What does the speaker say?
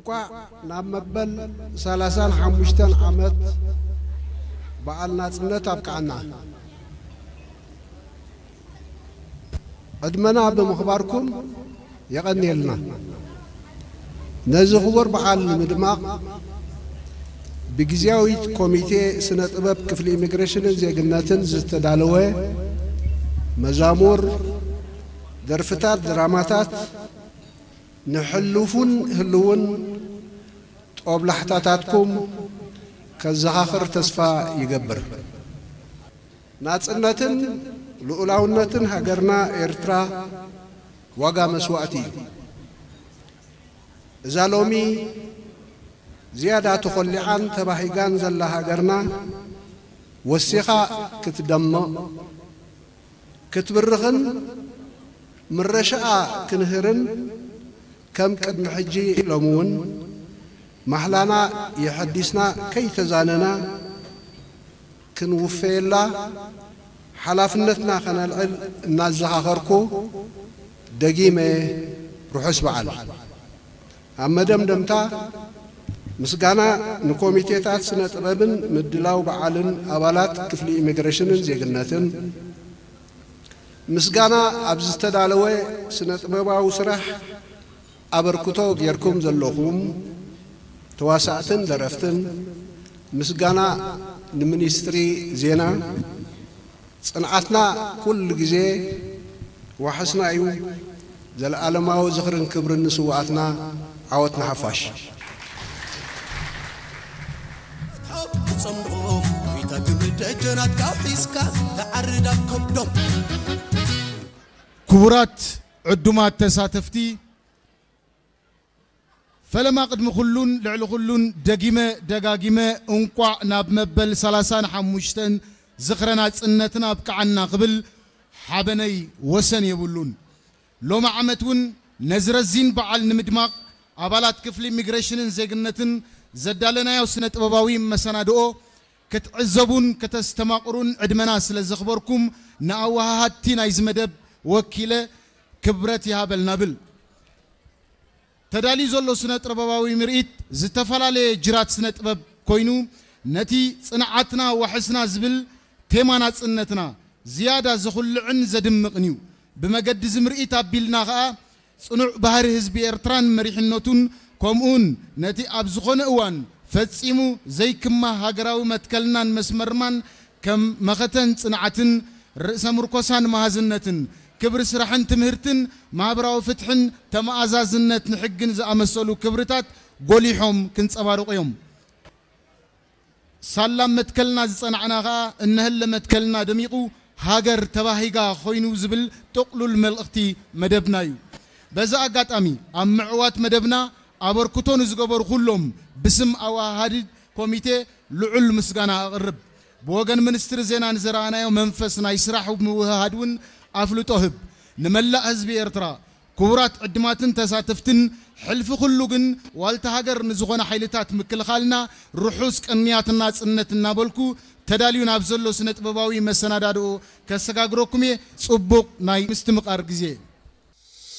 እንቋዕ ናብ መበል ሰላሳን ሓሙሽተን ዓመት በዓል ናጽነት ኣብቅዓና። ዕድመና ብምኽባርኩም የቐንየልና። ነዚ ክቡር በዓል ንምድማቕ ብግዝያዊት ኮሚቴ ስነ ጥበብ ክፍሊ ኢሚግሬሽንን ዜግነትን ዝተዳለወ መዛሙር፣ ደርፍታት፣ ድራማታት ንሕሉፉን ህልውን ጦብላሕታታትኩም ከዘኻኽር ተስፋ ይገብር። ናጽነትን ልኡላውነትን ሃገርና ኤርትራ ዋጋ መስዋእቲ እዩ። እዛ ሎሚ ዝያዳ ተኾሊዓን ተባሂጋን ዘላ ሃገርና ወሲኻ ክትደምቕ፣ ክትብርኽን ምረሻኣ ክንህርን ከም ቅድሚ ሕጂ ሎሚ እውን ማሕላና የሐዲስና ከይተዛነና ክንውፈየላ ሓላፍነትና ከነልዕል እናዘኻኸርኩ ደጊመ ርሑስ በዓል። ኣብ መደምደምታ ምስጋና ንኮሚቴታት ስነ ጥበብን ምድላው በዓልን ኣባላት ክፍሊ ኢሚግሬሽንን ዜግነትን፣ ምስጋና ኣብ ዝተዳለወ ስነ ጥበባዊ ስራሕ ኣበርክቶ ጌርኩም ዘለኹም ተዋሳእትን ደረፍትን፣ ምስጋና ንሚኒስትሪ ዜና። ጽንዓትና ኩሉ ግዜ ዋሕስና እዩ። ዘለኣለማዊ ዝኽርን ክብርን ንስውኣትና። ዓወት ንሓፋሽ። ትጸምኦ ጎይታ ግብሪ ደጀናትካ ሒዝካ ትዓርድ ኣብ ከብዶም። ክቡራት ዕዱማት ተሳተፍቲ፣ ፈለማ ቅድሚ ኩሉን ልዕሊ ኩሉን ደጊመ ደጋጊመ እንቋዕ ናብ መበል ሰላሳን ሓሙሽተን ዝኽረ ናጽነትና ኣብቅዓና ክብል ሓበነይ ወሰን የብሉን። ሎሚ ዓመት እውን ነዚ ረዚን በዓል ንምድማቕ ኣባላት ክፍሊ ኢሚግሬሽንን ዜግነትን ዘዳለናዮ ስነ ጥበባዊ መሰናድኦ ክትዕዘቡን ከተስተማቕሩን ዕድመና ስለ ዘኽበርኩም ንኣወሃሃድቲ ናይዚ መደብ ወኪለ ክብረት ይሃበልና ብል። ተዳልዩ ዘሎ ስነ ጥበባዊ ምርኢት ዝተፈላለየ ጅራት ስነ ጥበብ ኮይኑ ነቲ ጽንዓትና ዋሕስና ዝብል ቴማ ናጽነትና ዝያዳ ዘኹልዕን ዘድምቕን እዩ። ብመገዲ እዚ ምርኢት ኣቢልና ኸኣ ጽኑዕ ባህሪ ህዝቢ ኤርትራን መሪሕነቱን ከምኡውን ነቲ ኣብ ዝኾነ እዋን ፈጺሙ ዘይክማህ ሃገራዊ መትከልናን መስመርማን ከም መኸተን ጽንዓትን ርእሰ ምርኮሳን መሃዝነትን ክብሪ ስራሕን ትምህርትን ማህበራዊ ፍትሕን ተመኣዛዝነት ንሕግን ዝኣመሰሉ ክብርታት ጎሊሖም ክንጸባርቑ እዮም። ሳላ መትከልና ዝጸናዕና ኸኣ እነሀለ መትከልና ደሚቑ ሃገር ተባሂጋ ኮይኑ ዝብል ጥቕሉል መልእኽቲ መደብና እዩ። በዚ ኣጋጣሚ ኣብ ምዕዋት መደብና ኣበርክቶ ንዝገበሩ ኩሎም ብስም ኣወሃሃዲ ኮሚቴ ልዑል ምስጋና ኣቕርብ። ብወገን ሚኒስትሪ ዜና ንዝረኣናዮ መንፈስ ናይ ስራሕ ምውህሃድ እውን ኣፍልጦ ህብ። ንመላእ ህዝቢ ኤርትራ ክቡራት ዕድማትን ተሳተፍትን ሕልፊ ኩሉ ግን ዋልታ ሃገር ንዝኾነ ሓይልታት ምክልኻልና ርሑስ ቅንያት ናጽነት እናበልኩ ተዳልዩ ናብ ዘሎ ስነ ጥበባዊ መሰናዳድኦ ከሰጋግረኩም እየ። ጽቡቕ ናይ ምስትምቓር ግዜ።